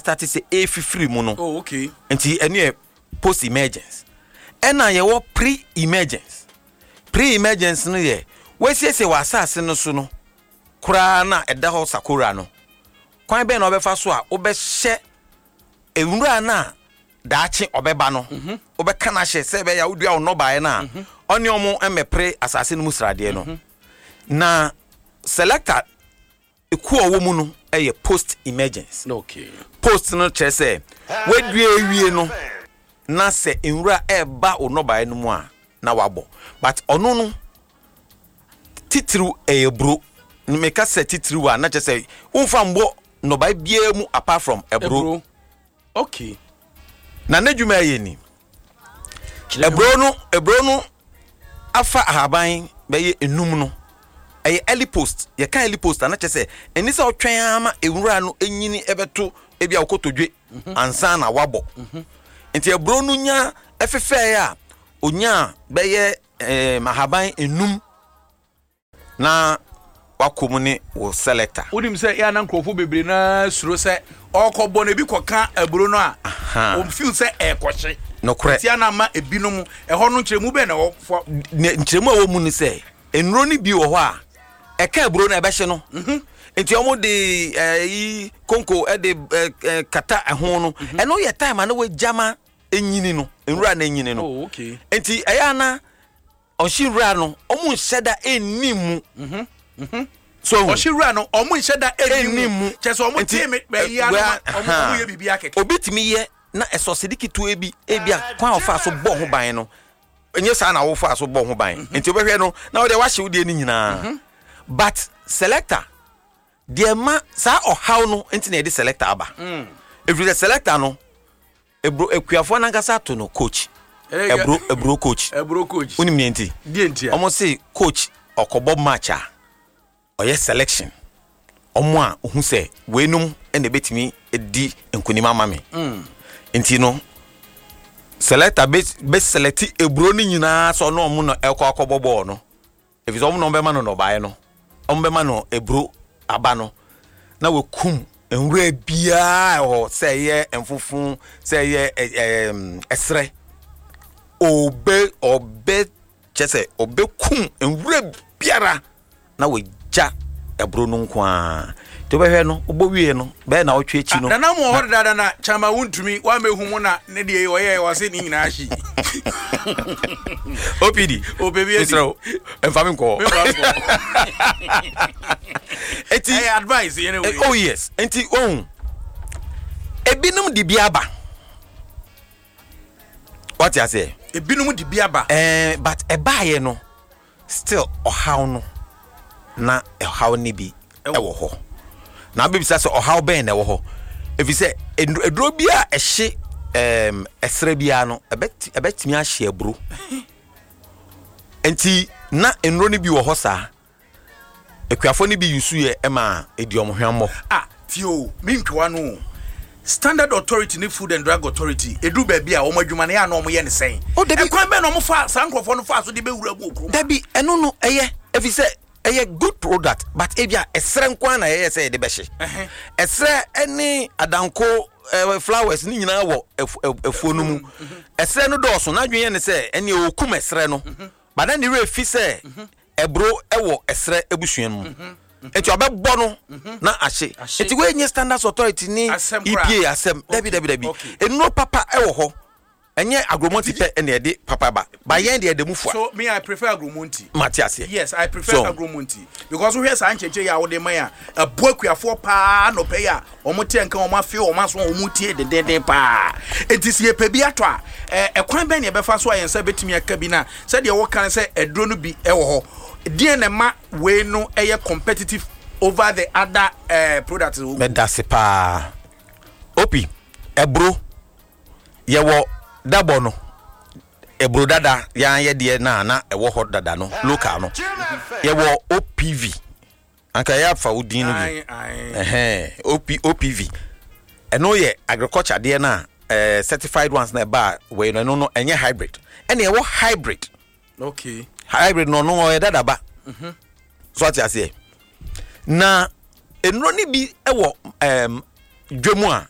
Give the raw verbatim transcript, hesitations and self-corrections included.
Astart sɛ ɛfifiri mu no. Oh, okay. Nti ɛno yɛ post emergence. Ɛna yɛwɔ pre emergence. Pre emergence no yɛ wɔasiesie wɔ asase no so no koraa na ɛda hɔ sakora no, kwan bɛn na wɔbɛfa so a wobɛhyɛ nwura no a daakye ɔbɛba no, wobɛka no ahyɛ sɛ ɛbɛyɛ a wodua wo nnɔbaeɛ no a, ɔne ɔmo mmɛpere asase no mu sradeɛ no. Na Selector ekuo a ɔwɔ mu no yɛ post emergence. Okay post no kyerɛ sɛ wadua awie no na sɛ nwura ɛreba wo nnɔbaeɛ no mu a na wabɔ, but ɔno no titiriw ɛyɛ buro. Meka sɛ titiriw a, na kyerɛ sɛ womfa mbɔ nnɔbaeɛ biara mu apart from ɛburo. Eburo, okay. Na n'adwuma ɛyɛ ni: ɛburo no ɛburo no afa ahaban bɛyɛ enum no, ɛyɛ early post. Yɛka early post a, na kyerɛ sɛ ɛni sɛ ɔtwɛn ama nwura no enyini ɛbɛto ebi a ɔkotodwe ansa na wabɔ. Nti ɛburo no nya ɛfefɛɛ a onya bɛyɛ ɛɛm ahaban enum na wakɔ mu ne wɔ Selector. Wonim sɛ yɛ ana nkurɔfoɔ bebree naa suro sɛ ɔkɔbɔ no, ebi kɔka aburo no a, Aha. ɔmfeel sɛ ɛɛkɔhye. Nokorɛ. Nti ana ama ebinom ɛhɔ no, nkyerɛmu bɛn na ɛwɔ fɔ? Ne nkyerɛmu a ɛwɔ mu ne sɛ nnuro no bi wɔ hɔ a ɛka aburo no ɛbɛhye no, nti wɔn de ɛyi konko ɛde ɛ ɛ kata ɛho no. Ɛno yɛ time a na wɔagyama enyini no, nwura no enyini no. Oh, okay. Nti ɛyɛ ana ɔhye nwura no, ɔmo nhyɛ da ɛnni mu so. Ɔhye wura no, ɔmo nhyɛ da ɛnni ɛnni mu. mu, kyɛ sɛ ɔmo Nti, tie me bɛyi ano ɛwura- ɔmo ɔmo yɛ biribi akɛkɛ. Obi tumi yɛ na ɛsɔsidi ketewa bi, ebi a kwan a ɔfa so bɔ ho ban no ɛnyɛ saa na wofa so bɔ ho ban, nti wobɛhwɛ no na wode wahyɛ wo deɛ no nyinaa. But Selector deɛ, ma saa ɔhaw no nti na yɛde Selector aba, ɛfiri sɛ Selector no, eburo akuafoɔ nankasa ato no coach. Eburo eburo coach. Eburo coach. Wonim deɛ nti? Deɛ nti a? Ɔmo se coach ɔkɔbɔ match a, ɔyɛ selection, ɔmo a ohu sɛ weinom ɛna ebetumi di nkunim ama me. Nti no Selector bɛ bɛ select eburo no nyinaa sɛ ɔno ɔmo na ɛkɔ akɔbɔ bɔɔl no, efisɛ ɔmo na ɔmo bɛma no nnɔbaeɛ no, ɔmo bɛma no eburo aba no, na wɔkum nwura biara ɛwɔ hɔ, sɛ ɛyɛ mfofo, sɛ ɛyɛ ɛ ɛɛm ɛsrɛ, ɔbɛ ɔbɛ kyɛ sɛ ɔbɛkum nwura biara na wɔgya ɛburo no nko ara. Nti wobɛhwɛ no, wobɔ wie no bɛyɛ na ɔtwe akyi no. Nana mu wɔ hɔ dada na kyama wontumi wamehu mu na ne deɛ ɔyɛ ɔse ne nyinaa hye. O P D. Ɔpɛ bi adi. Mesrɛ wo, ɛmfa me nkɔ. Memfa nkɔ. Enti ɛyɛ advice yɛne Eh, wei. oh yes, nti ohun ebinom de bi aba, wate aseɛ? Ebinom de bi aba. ɛɛ but ɛbaayɛ no, still ɔhaw no na ɛhaw ne bi ɛwɔ hɔ. Na abɛbisa sɛ ɔhaw bɛn na ɛwɔ hɔ? Ɛfiri sɛ eduro eduro bi a ɛhye ɛɛm ɛsrɛ biara no, ɛbɛti ɛbɛtumi ahye aburo. Nti na nnuro no bi wɔ hɔ saa, akuafoɔ no bi yusu yɛ ɛma edi ɔmo hwammɔ. Ah, tio, mentwewa no o. Standard Authority ne Food and Drug Authority ɛduru baabi a wɔn adwuma no yɛ a na wɔn yɛ ne sɛn? Oh, dabi. Ɛkwan bɛn na wɔn fa saa nkurɔfoɔ no fa so de bɛwura mu wɔ kurom? Dabi, ɛno no ɛyɛ ɛfiri sɛ ɛyɛ good product, but ebi a ɛsrɛ nko ara na ɛyɛ sɛ yɛde bɛhye Ɛhɛ. ɛsrɛ ɛne adanko ɛɛ flowers ne nyinaa wɔ ɛfu- ɛ- ɛfuo no mu. Ɛsrɛ no dɔɔso, n'adwene yɛ ne sɛ ɛne okum ɛsrɛ no, but na ne werɛ fi sɛ ɛburo ɛwɔ ɛsrɛ ebusua no mu, nti ɔbɛbɔ no na ahye. Ahye. Nti wɔnyɛ Standards Authority ne Asɛm koraa. E P A asɛm. Dabi, dabi, dabi. Okay. Nnuro papa ɛwɔ hɔ, ɛnyɛ Agromonti pɛ ɛna ɛde papa ba ba, yɛn deɛ ɛde mu fua. So me, I prefer Agromonti. Mate aseɛ. Yes, I prefer So- Agromonti because wohwɛ saa nkyɛnkyɛn yi a wode man a ɛboa akuafoɔ paa nɔpɛ yi a wɔn te nka, wɔn afe wɔn aso a wɔn tie dendenden paa. Eti si yɛpɛ bi atɔ a, ɛɛ ɛkwan bɛn na yɛbɛfa so a yɛn nsa bɛtumi aka bi? Na sɛdeɛ wɔka no sɛ aduro no bi ɛwɔ hɔ deɛ, na ɛma wei no ɛyɛ competitive over the other ɛɛ products wɔ. Mɛda se paa. Opi ɛburo, yɛwɔ dabɔ no, ɛburo dada yɛn yɛ deɛ na na ɛwɔ hɔ dada no, local no. Yɛwɔ O P V, anka yɛ afa wo din no bi. Aye, aye. Ɛhɛn, O P O P V ɛno yɛ agriculture deɛ na ɛɛ certified ones na ɛba a wei no, ɛno no ɛnyɛ hybrid. Ɛna ɛwɔ hybrid. Okay hybrid no, ɔno ɔyɛ dadaba so, ate aseɛ? Na nnuro no bi wɔ ɛɛm dwam a